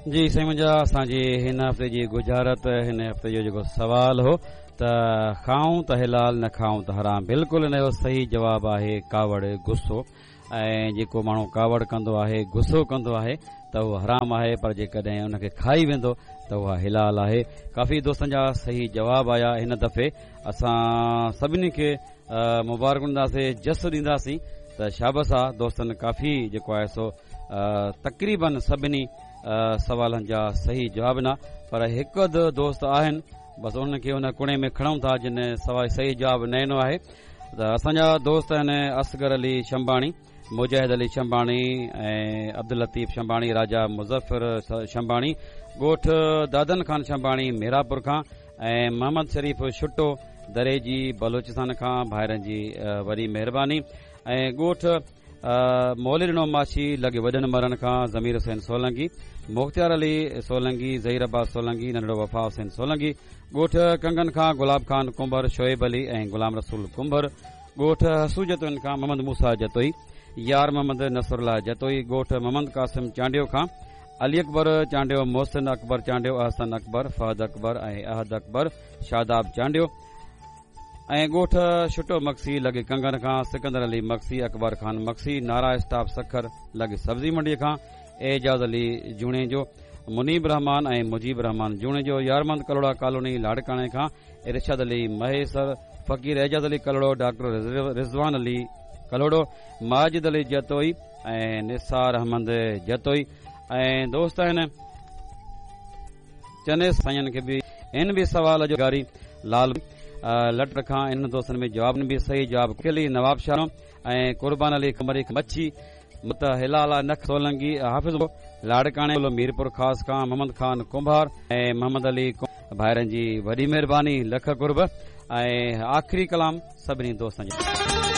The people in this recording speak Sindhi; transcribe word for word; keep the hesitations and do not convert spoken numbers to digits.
جي سائين منهنجا، اسان جي هن هفتي جي ڳجهارت، هن هفتي جو جيڪو سوال هو ته کائون ته حلال، نه کائون ته حرام، بلڪل ان جو صحيح جواب آهي ڪاوڙ، غصو. ۽ جيڪو ماڻهو ڪاوڙ ڪندو آهي، غصو ڪندو آهي ته اهو حرام آهي، پر جيڪڏهن ان کي کائي ويندو ته اها حلال آهي. ڪافي دوستن جا صحيح جواب آيا. هن دفعي اسان سڀني کي مبارڪ ڏينداسين، جس ڏينداسين ته شابس آ دوستن، ڪافي جيڪو آهي سو تقريبن سڀني سوالن جا صحيح جواب ڏنا، پر هڪ اڌ دوست آهن بس انهن کي ان ڪڻي ۾ کڻون ٿا جن سوال صحيح جواب نه ڏنو آهي. ته اسان جا دوست آهن اصغر علي شمباڻي، مجاهد علي شمباڻي ۽ عبداللطيف شمباڻي، راجا مظفر شمباڻي، ڳوٺ دادن خان شمباڻي ميراپور کان، ۽ محمد شريف شٽو دريجي بلوچستان کان، ڀائرن جي وڏي مهرباني. ۽ ڳوٺ مولي ڏنو ماڇي لڳ وڏن مرن کان ضمير حسين سولنگي، مختيار علي سولنگي، ظهير عباس سولنگي، ننڍڙو وفا حسين سولنگي، ڳوٺ ڪنگن کان گلاب خان ڪنڀر، شعيب علي ۽ غلام رسول ڪنڀر، ڳوٺ حسو جتوئين کان محمد موسيٰ جتوئي، يار محمد نصر الله جتوئي، ڳوٺ محمد قاسم چانڊيو کان علي اڪبر چانڊيو، محسن اڪبر چانڊيو، احسن اڪبر، فهد اڪبر ۽ احد اڪبر، شاداب چانڊيو، ۽ ڳوٺ شٽو مگسي لڳ ڪنگن کان سڪندر علي مگسي، اڪبر خان مگسي، نارا اسٽاپ سکر لڳ سبزي منڊي کان اعجاز علي جوڻيجو، منيب رحمان ۽ مجيب رحمان جوڻيجو، يارمند ڪلهوڙا ڪالوني لاڙڪاڻي کان ارشاد علي مهيسر، فقير اعجاز علي ڪلهوڙو، ڊاڪٽر رضوان علي ڪلهوڙو، ماجد علي جتوئي ۽ نثار احمد جتوئي. ۽ دوست آهن چني سائين کي به ان به سوال جو گاري لال لٽ کان انهن دوستن ۾ جواب به صحيح جواب ڪلي نواب شاهه ۽ قربان علي قمري مڇي مت هلال نک سولنگي حافظ لاڙڪاڻي ميرپور خاص کان محمد خان ڪنڀار ۽ محمد علي ڀائرن جي وڏي مهرباني، لک قرب. ۽ آخري ڪلام سڀني دوستن جو.